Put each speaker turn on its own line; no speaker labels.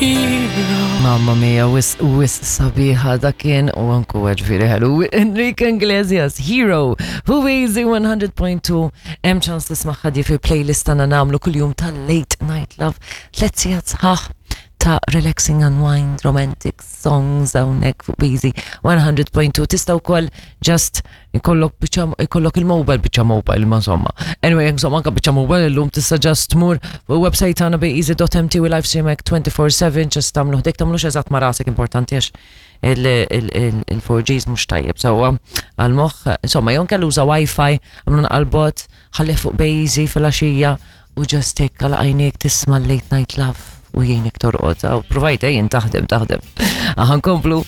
Mamma mia, wisq wisq sabiħa dak kien u anku ġifieri ħelu. Enrique Iglesias, Hero, fuq Easy 100.2, hemm ċans tismagħha di fil-playlist tagħna nagħmlu kuljum tal-Late Night Love, tliet sigħat sħaħ ta' relaxing unwind romantic songs hawnhekk fuq Easy 100.2. Tista' wkoll just ikollok biċċa ikollok il-mobile biċċa mobile ma insomma. Anyway, insomma anka biċċa mobile illum tista' just tmur fuq website tagħna beeasy.mt u live stream hekk 24/7 just tagħmlu ħdejk tagħmlux eżatt ma' rasek importanti għax il-4Gs mhux tajjeb sewwa għall-moħħ. Insomma, jew inkella uża Wi-Fi, għamlu nqalbot, ħallih fuq Beeasy filgħaxija u just hekk għal għajnejk tisma' late night love u jgħinek torqod. Aw, Provajt ejjin taħdem taħdem. Aħna nkomplu.